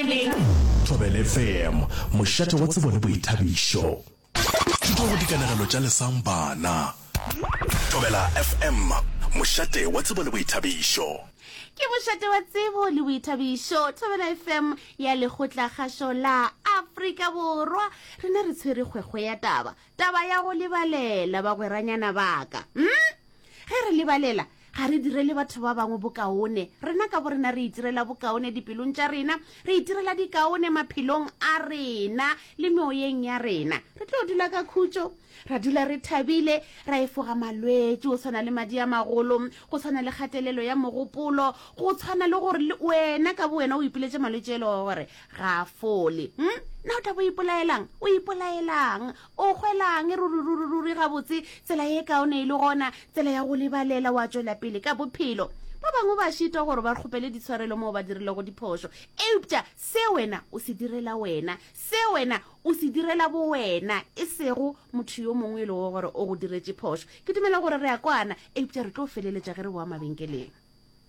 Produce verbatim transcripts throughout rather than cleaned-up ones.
mabenkeleng. Thobela F M, mošate wa tsebo le boithabišo. Thuto go dikanegelo tša Lesang Bana. Thobela F M, mošate wa tsebo le boithabišo. Ke mošate wa tsebo le boithabišo, Thobela F M ya Lekgotlakgašo la Afrika Borwa. Rena re tshwere kgwekgwe ya taba, taba ya go lebalela, bagweranyana baka. hmm? Ge re lebalela, ga re direle batho ba bangwe bokaone, rena ka bo rena re itirela bokaone dipelong tša rena, re itirela dikaone maphelong a rena le meoyeng ya rena. Re tlo dula ka khutšo, ra dula re thabile, ra efoga malwetši go tshwana le madi a magolo, go tshwana le kgatelelo ya mogopolo, go tshwana le gore le wena ka bo wena o ipiletše malwetši e lego gore ga a fole. hmm? Na o tla bo ipolaelang? O ipolaelang? O hwelang? Ruri gabotse tsela ye kaone e le gona tsela ya go lebalela, wa tšwela pele ka bophelo. Ba bangwe ba šitwa gore ba kgopele ditshwarelo moo ba dirilego diphošo, eupša se wena o se direla wena, se wena o se direla bo wena, e sego motho yo mongwe e lego gore o go diretše phošo. Ke dumela gore re a kwana, eupša re tlo feleletša ge re boa mabenkeleng.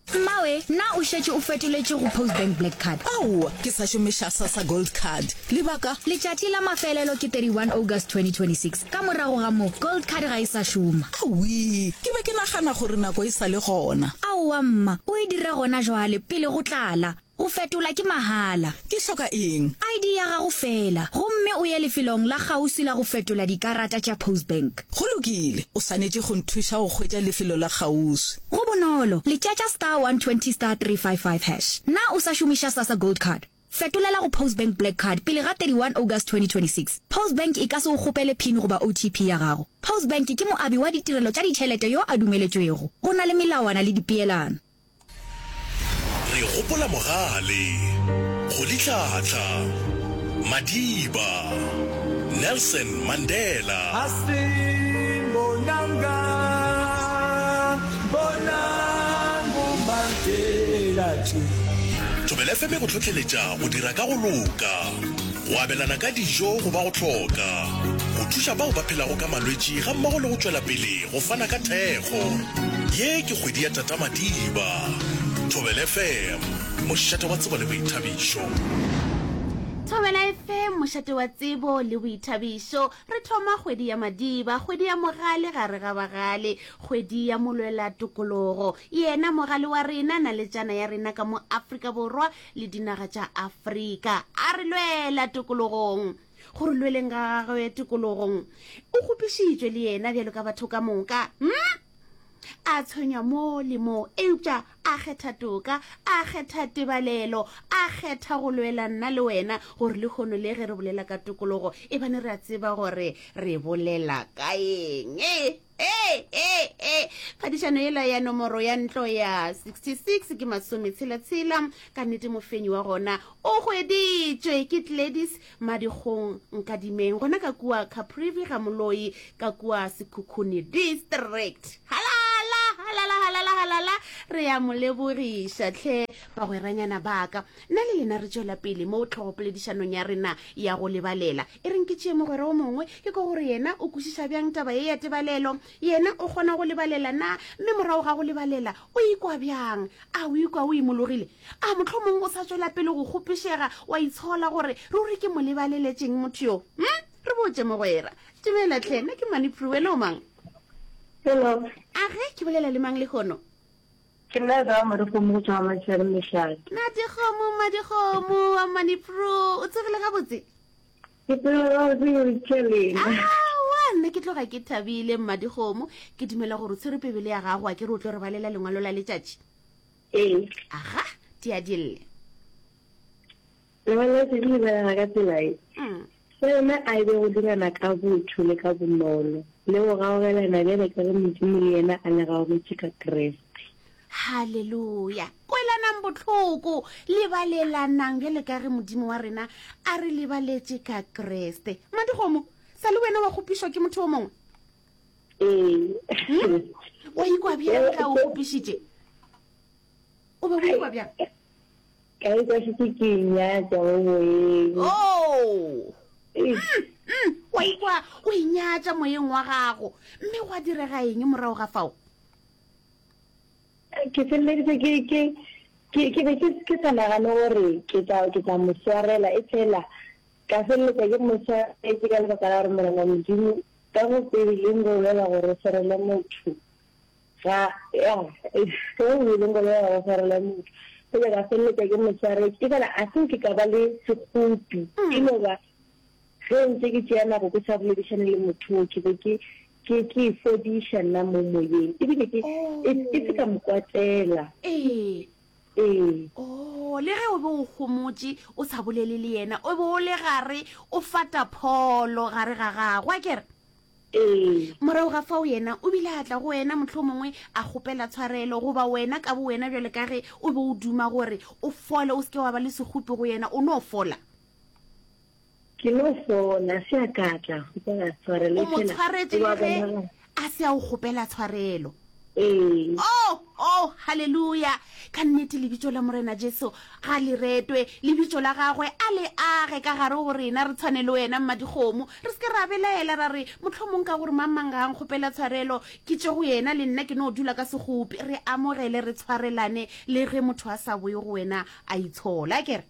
Mmawe, na o šetše o fetoletše go Postbank Black Card? Aowa, ke sa šomiša SASSA Gold Card. Lebaka? Letšatši la mafelelo ke thirty-one August twenty twenty-six. Ka morago ga moo, Gold Card ga e sa šoma. Awi, ke be ke nagana gore nako e sa le gona. Aowa mma, o e dire gona jwale pele go tlala. Go fetola ke mahala. Ke hloka eng? I D ya gago fela, gomme o ye lefelong la kgauswi la go fetola dikarata tša Postbank. Go lokile, o swanetše go nthuša go hwetša lefelo la kgauswi. Go bonolo, letšatša star one twenty star three five five hash. Na o sa šomiša SASSA Gold Card? Fetolela go Postbank Black Card pele ga thirty-one August twenty twenty-six. Postbank e ka se o kgopele PIN goba O T P ya gago. Postbank ke moabi wa ditirelo tša ditšhelete yo a dumeletšwego. Go na le melawana le dipeelano. Re gopola mogale Rolihlahla Madiba Nelson Mandela. Asimbonanga bonang Mandela tše. Thobela F M e go hlohleletša go dira ka go loka, go abelana ka dijo go ba go hloka, go thuša bao ba phelago ka malwetši gammogo le go tšwela pele go fana ka thekgo. Ye ke kgwedi ya Tata Madiba. Thobela F M, mošate wa tsebo le boithabišo. Thobela F M, mošate wa tsebo le boithabišo. Re thoma kgwedi ya Madiba, kgwedi ya mogale gare ga bagale, kgwedi ya molwela tokologo, yena mogale wa rena, naletšana ya rena ka mo Afrika Borwa le dinaga tša Afrika. A re lwela tokologong. Gore lweleng ga gagwe tokologong, o kgopišitšwe le yena bjalo ka batho ka moka, hmm? A tshwenywa mo le mo, eupša a kgetha toka, a kgetha tebalelo, a kgetha go lwela nna le wena, gore le kgono le ge re bolela ka tokologo e bane re a tseba gore re bolela ka eng. E e e e phadišano ela ya nomoro ya ntlo ya sixty-six ke masometshela-tshela. Ka nnete mofenyi wa gona o hweditšwe ke Gladys Madikgong Nkadimeng, gona ka kua Caprivi ga Moloi, ka kua Sekhukhune District. Halala, halala, halala, halala! Re ya mo lebogiša tlhe, bagweranyana baka. Nna le lena re tšwela pele mo tlhogopoledišanong ya rena ya go lebalela. E reng ke tšee mogwera o mongwe, ke ko gore yena o kwešiša bjang taba ye ya tebalelo. Yena o kgona go lebalela na? Mme morago ga go lebalela o ikwa bjang? A o ikwa o imologile? A motlho mongwe o sa tswela pele go kgopišega, wa itshola gore ruri ke mo lebaleletšeng motho yo? hm re botse mogwera. Dumela tlhe, nna ke Manipro, wena o mang? Hello. A ge ke bolela le mang le kgono? Ke nna ka Madikgomo go tswa Matšhare Mešate. Madikgomo, Madikgomo wa Manipro, o tsogile gabotse? Ke tseba gabotse, ke lena. Awa, nna ke tloga ke thabile, Mmadikgomo. Ke dumela gore o tshwere pebele ya gago, a ke re o tlo re balela lengwalo la letšatši? Ee. Aga, di a dille. Lengwalo la letšatši le belega ka tsela e. Mm. Se yona a e be go dirana ka botho le ka bonolo, le go gaogelana bjale ka ge Modimo le yena a le gaogetše ka Kriste. Halleluja! Kwelanang botlhoko, lebalelanang bjale ka ge Modimo wa rena a re lebaletše ka Kreste. Madikgomo, sa le wena wa kgopišwa ke motho o mongwe? Ee. Wa ikwa bjang ka o kgopišitše? O be o ikwa bjang? Ka ikwa šetše ke inyatša mo moyeng. Oh, mm, wa ikwa o inyatša moyeng wa gago. Mme gwa direga eng morago ga fao? Ke feleleditse ke ke Ke ke be ke ke sa nagane gore ke tla ke tla mo swarela, efela ka feleletša ke mo swaretše ka lebaka la gore Morena Modimo ka go Beibeleng go bolela gore o swarele motho ga ya ka go Beibeleng go bolela gore o swarele motho. Fela ka feleletša ke mo swaretše, efela a se nke ka ba le sekgopi, e no ba ge ntše ke tšea nako ke sa boledišane le motho wo, ke be ke ke ke e fodiša nna mo moyeng, ebile ke e e se ka mo kwatela. Ee. Ee. Oh, le ge o be o homotše o sa bolele le yena, o be o le gare o fata pholo gare ga gago, a ke re? Ee. Morago ga fao yena o bile a tla go wena, mohlomongwe a kgopela tshwarelo, goba wena ka bowena bjalo ka ge o be o duma gore o fole, o se ke wa ba le sekgopi go yena, o no fola. Ke no fola, se a ka tla kgopela tshwarelo, O mo efela tshwaretše o le a ge bonagala. a se a o kgopela tshwarelo. Ee. Oh, oh, haleluya! Ka nnete Lebitso la Morena Jesu ga le retwe, Lebitso la Gagwe a le age ka gare go rena, re tshwane le wena, Mmadikgomo. Re se ke ra belaela ra re, Mohlomong ka gore mang-mang ga a nkgopela tshwarelo, ke tšwe go yena, le nna ke no dula ka sekgopi. Re amogele, re tshwarelane, le ge motho a sa boye go wena a itshola. Akere?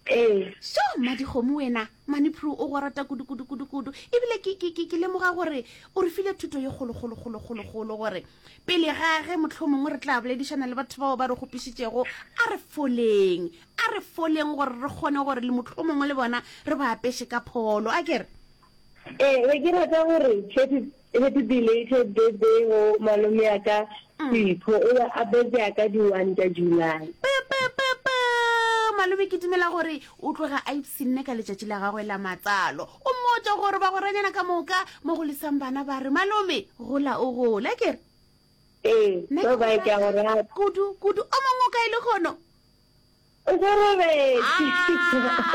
Ee. Sho, Mmadikgomo wena, Manipru o go rata kudu, kudu, kudu, kudu. Ebile ke, ke, ke, ke lemoga gore o re file thuto ye kgolo, kgolo, kgolo, kgolo, kgolo, gore pele ga ge mohlomongwe re tla boledišana le batho bao ba re kgopišitšego, a re foleng, a re foleng gore re kgone gore le mohlomongwe le bona re ba apeše ka pholo. A ke re? Ee, be ke rata gore happy, happy belated birthday go malome ya ka Sipho, o be a birthday ya ka di one tša July. Pe, pe, pe, pe. Malome ke dumela gore o tloga a ipshinne ka letšatši la gagwe la matsalo. O mmotše gore bagweranyana ka moka mo go lesang bana ba re, Malome, gola o gole. A ke re? Ee, Nna ke bye go bye, ke a go rata rata. kudu, kudu. O mongwe o kae lehono? O sa robetše.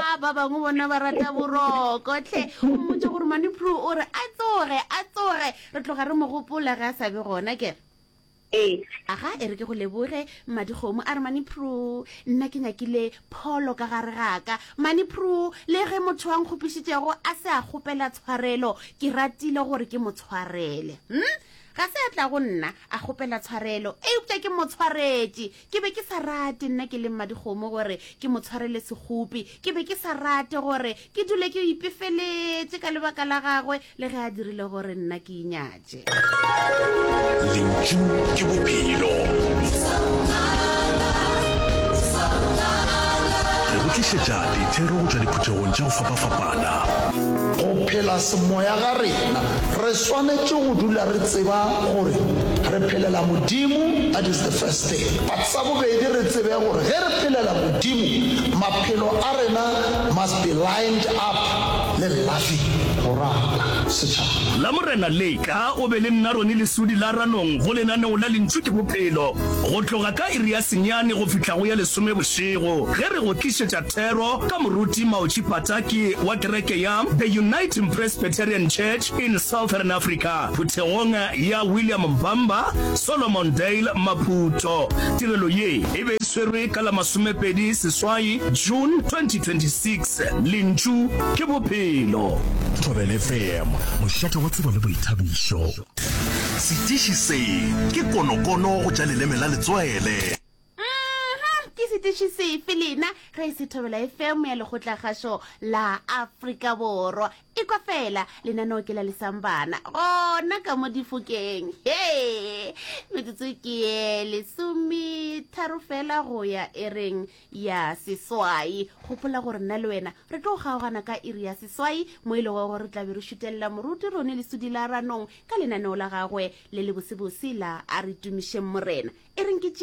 Ah, ba bangwe bona ba rata boroko hle. O mmotše gore Manipro o re a tsoge, a tsoge. Re tloga re mo gopola ge a sa be gona, ke re? Ee. Aga, e re ke go leboge, Mmadikgomo. A re, Manipro, nna ke nyakile pholo ka gare ga ka. Manipro, le ge motho a nkgopišitšego a se a kgopela tshwarelo, ke ratile gore ke mo tshwarele. Hm? Ga se a tla go nna a kgopela tshwarelo, eupša ke mo tshwaretše. Ke be ke sa rate nna ke le mmadikgomo gore ke mo tshwarele sekgopi. Ke be ke sa rate gore ke dule ke ipefeletše ka lebaka la gagwe le ge a dirile gore nna ke inyatše. Lentšu ke bophelo. Re go tlišetša dithero go tšwa diphuthegong tša go fapafapana. Go phela semoya ga rena, re swanetše go dula re tseba gore re phelela Modimo, that is the first thing. But sa bobedi re tsebe gore ge re phelela Modimo, maphelo a rena must be lined up le loving, go rata setšhaba. Lamorena le tla o be le nna Ronnie Lesudi la Ranong go lenaneo la Lentšu ke Bophelo go tloga ka iri ya senyane go fihla go ya lesome bošego ge re go tlišetša thero ka Moruti Maochi Pataki wa kereke ya The Uniting Presbyterian Church in Southern Africa phuthegong ya William Mbamba, Solomondale, Maputo. Tirelo ye e be e swerwe ka la masomepedi seswai June twenty twenty six. Lentšu ke Bophelo. Thobela F M, mošate wa tsebo le boithabišo. Setiši se ke konokono go tša leleme la letswele. Mhm, ke setiši sefe lena ge e se Thobela F M ya Lekgotlakgašo la Afrika Borwa? Ekwa fela lenaneo ke la lesang bana gona ka mo difokeng. He, metsotso ke ye lesometharo fela go ya ereng ya seswai. Gopola gore nna le wena re tlo kgaogana ka iri ya seswai mo e lego gore re tla be re šutelela moruti Rone Lesudi la Ranong ka lenaneo la gagwe le lebosebose la A Re Tumišeng Morena. E reng ke tšee